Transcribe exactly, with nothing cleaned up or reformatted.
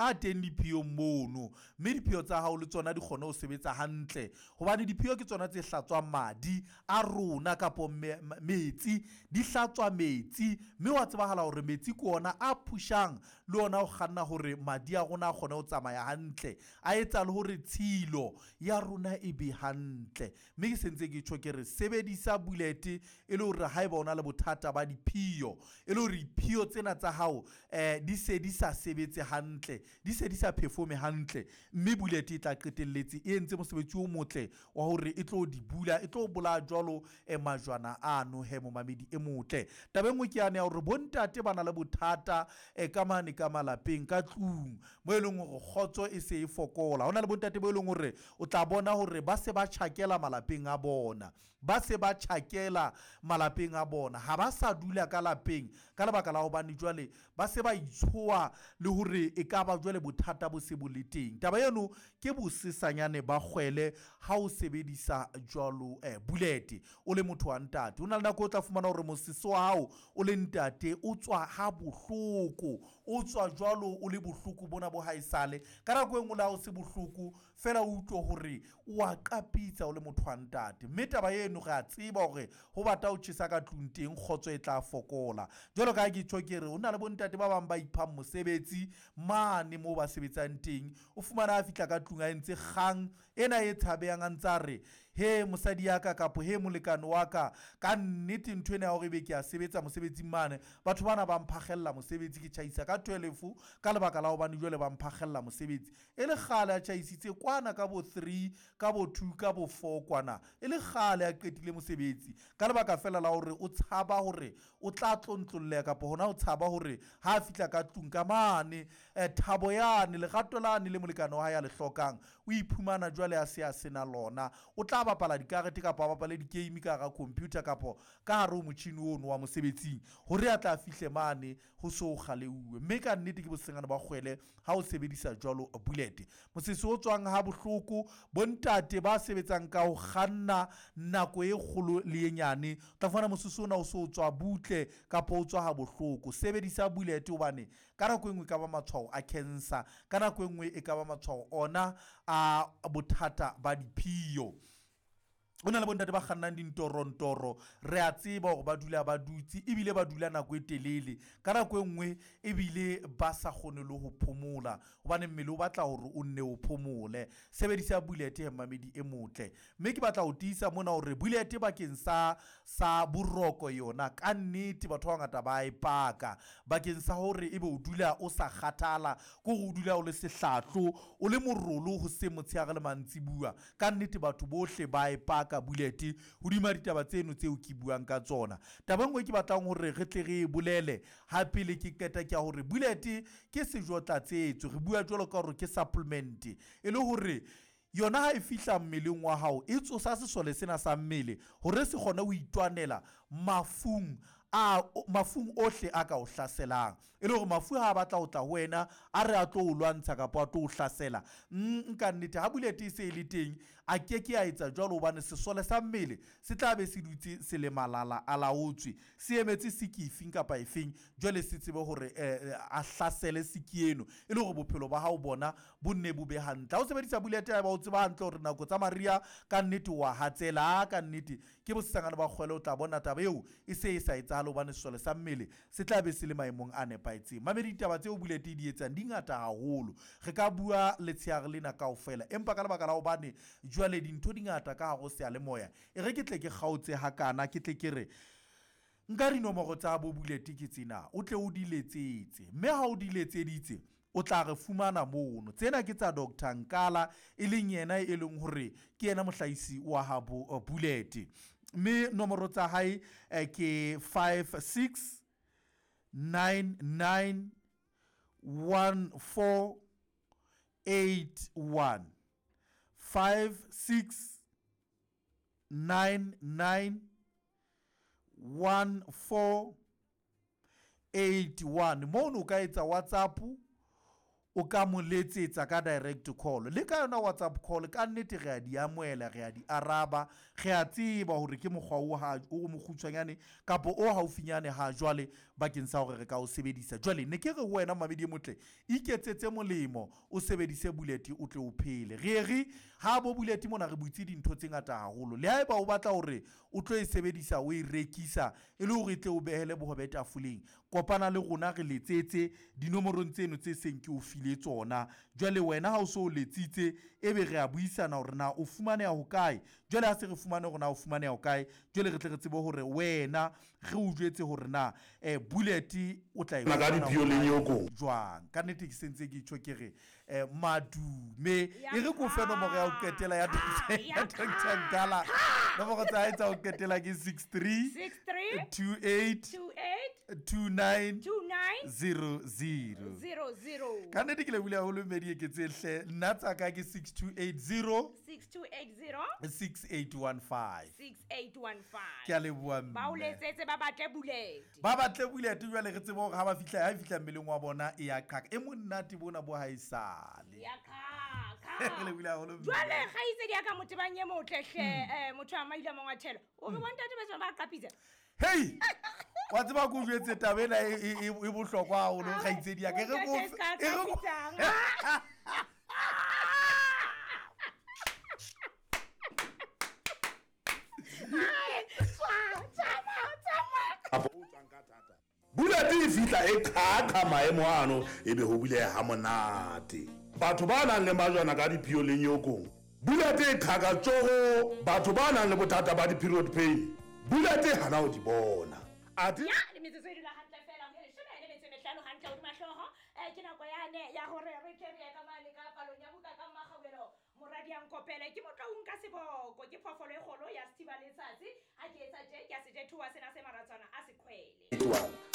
a teng diphiyong mono, mme diphio tsa hao le tsona di kgone ho sebetsa hantle, hobane diphio ke tsona tse hlatswang madi a rona kapo metsi, di hlatswa metsi, mme wa tsebahala hore metsi ke ona a pushang le ona ho kganna hore madi a rona a kgone ho tsamaya hantle, a etsa le hore tshilo ya rona e be hantle. Mme ke sentse ke tjho ke re sebedisa bullet e le hore haeba o na le bothata ba diphio, e le hore diphio tsena tsa hao eh di se di sa sebetse hantle, di se di sa performe hantle, mme bullet e tla qetelletse e entse mosebetsi o motle wa hore e tlo di bula, e tlo bolaya jwalo eh, majwana ano he momamedi e motle. Taba e nngwe ke yane ya hore bontate ba na le bothata eh, ka mane ka malapeng ka tlung mo e leng hore kgotso e se e fokola. Ho na le bontate bo e leng hore o tla bona hore ba se ba tjhakela malapeng a bona, ba se ba tjhakela malapeng a bona, ha ba sa dula ka lapeng ka lebaka la hobane jwale ba se ba itshoa le hore e ka ba jwale bothata bo se bo le teng. Taba eno ke bosesanyane ba kgwele ha o sebedisa jwalo eh, bullet o le motho wa ntate. O na le nako o tla fumana hore mosese wa hao o le ntate o tswa ha bohloko, o tswa jwalo o le bohloko bona bo haesale. Ka nako e nngwe le ha o se bohloko fela o utlwe hore o a qapitsa o le motho wa ntate, mme taba eno re a tseba hore ho bata ho tjhesa ka tlung teng kgotso e tla fokola. Jwalo ka ha ke tjho ke re ho na le bontate ba bang ba iphang mosebetsi mane moo ba sebetsang teng, o fumana a fihla ka tlung a entse kgang ena e tshabehang, a ntse a re he mosadi ya ka kapo he molekane wa ka, ka nnete ntho ena ya hore ebe ke a sebetsa mosebetsing mane, batho bana ba mphakgella mosebetsi, ke tjhaisa ka twelve ka lebaka la hobane jwale ba mphakgella mosebetsi. E le kgale a tjhaisitse kwana ka bo three, ka bo two, ka bo four kwana, e le kgale a qetile mosebetsi ka lebaka fela la hore o tshaba hore o tla tlontlolleha kapo hona o tshaba hore ha a fihla ka tlung ka mane eh, thabo yane lerato lane le molekane wa hae a le hlokang o iphumana jwale a se a sena lona. O tla bapala dikarete kapa a bapale di-game ka hara computer kapo ka hare ho motjhini ono wa mosebetsing hore a tla fihle mane ho so kgaleuwe. Mme ka nnete ke bosengane ba kgwele ha o sebedisa jwalo bullet. Mosese o tswang ha bohloko, bontate ba sebetsang ka ho kganna nako e kgolo le e nyane, o tla fumana mosese ona o so tswa butle kapa o tswa ha bohloko. Sebedisa bullet hobane ka nako e nngwe e ka ba matshwao a cancer, ka nako e nngwe e ka ba matshwao ona a bothata ba diphio. Ho na le bontate ba kgannang dintorontoro, re a tseba hore ba dula ba dutse ebile ba dula nako e telele, ka nako e nngwe ebile ba sa kgone le ho phomola hobane mmele o batla hore o nne o phomole. Sebedisa bullet he mmamedi e motle. Mme ke batla ho tiisa mona hore bullet bakeng sa sa boroko yona ka nnete batho ba bangata ba e paka bakeng sa hore ebe o dula o sa kgathala, ke hore o dula o le sehlahlo, o le morolo hoseng, motshehare le mantsibuya. Ka nnete batho bohle ba e paka bullet hodima ditaba tseno tseo ke buang ka tsona. Taba e nngwe ke batlang hore re tle re e bolele ha pele ke qeta ke ya hore bullet ke sejo tlatsetso, re bua jwalo ka hore ke supplement, e le hore yona ha e fihla mmeleng wa hao e tsosa sesole sena sa mmele hore se kgone ho itwanela mafung a mafung ohle a ka o hlaselang, e le hore mafu ha a batla ho tla ho wena a re a tlo o lwantsha kapa a tlo o hlasela. Nka nnete ha bullet e se e le teng a ke ke a etsa jwalo hobane sesole sa mmele se tla be se dutse se le malala a laotswe, se emetse siki efeng kapa efeng, jwale se tsebe hore eh, a hlasele siki eno e le hore bophelo ba hao bona bo nne bo be hantle. Ha o sebedisa bullet ya ba o tseba hantle hore nako tsa mariha ka nnete wa hatsela, ka nnete ke bosesangane ba kgwele, o tla bona taba eo e se e sa etsahale hobane sesole sa mmele se tla be se le maemong a nepahetseng. Mamedi, ditaba tseo bullet e di etsang di ngata haholo, re ka bua letshehare lena kaofela, empa ka lebaka la hobane jwale dintho di ngata ka hare ho seyalemoya, e re ke tle ke kgaotse hakana, ke tle ke re nka dinomoro tsa bo bullet ke tsena, o tle o di letsetse, mme ha o di letseditse o tla re fumana mono. Tsena ke tsa Doctor Nkala, e leng yena e leng hore ke yena mohlahisi wa habo bullet, mme nomoro tsa hae eh, ke five six nine nine one four eight one, five six nine nine one four eight one. Mono o ka etsa WhatsApp, O ka mo letsetsa ka direct call le ka yona WhatsApp call. Ka nnete re a di amohela, re a di araba, re a tseba hore ke mokgwa o ha o mokgutshwanyane kapa o haufinyane ha jwale bakeng sa hore re ka o sebedisa. Jwale ne ke re ho wena mamedi e motle, iketsetse molemo, o sebedise Bullet o tle o phele. Re re ha bo Bullet mona re butse dintho tse ngata haholo. Le haeba o batla hore o tlo e sebedisa, o e rekisa e le hore e tle o behele bohobe tafoleng, kopana le rona re letsetse dinomorong tseno tse seng ke o file tsona. Jwale wena ha o so o letsitse, ebe re a buisana hore na o fumaneha hokae. Jwale ha se re fumane hore na o fumaneha hokae, jwale re tle re tsebe hore wena re o jwetse hore na eh Bullet o tla e ka fumana diphio le hokae, nyokong. jwang. Ka nnete ke sentse ke tjho ke re eh madume, e re ko fe nomoro ya ho qetela ya ya Doctor Nkala. Nomoro tsa hae tsa ho qetela ke six three six three two eight two eight two nine two nine zero zero. zero zero. Ka nnete ke lebohile haholo Mmedi Eketse hle. Nna tsa ka ke six two eight zero six two eight zero six eight one five. six eight one five. Ke a leboha Ba o mme. letsetse ba batle Bullet. Ba batle Bullet jwale re tsebe hore ha ba fihla, ha e fihla mmeleng wa bona e ya qhaka. E monate bona bo ha e sale. Ya qhaka. Re lebohile haholo mme. Jwale kgaitsedi ya ka motebang e motle hle, eh, motho a maile mongwathelo. O re bontate ba tswa ba qapitsa. Hey! Wa tseba ke o jwetse taba ena e, e, e, e bohlokwa haholo kgaitsedi ya ka. E re ko Bontate fe- ska e re ko- qapitsang. Bullet e fihla e qhaqha maemo ano, ebe ho buleha ha monate. Batho ba nang le majwana ka diphio le nyokong, Bullet e qhaka tsoho. Batho ba nang le bothata ba di-period pain, Bullet e hana ho di bona. Athe Ya, le metsotso e dula hantle feela, ho leshome le metso e mehlano hantle hodima hlooho. Eh, ke nako yane ya hore re tle re ye ka mane ka palong ya buka ka Mmakgaubelo. Moradi a nkopele, ke motho o nka seboko, ke phoofolo e kgolo ya sethiba letsatsi. Ha ke etsa tje, ke a se jethoha sena se maratswana a seqhwele.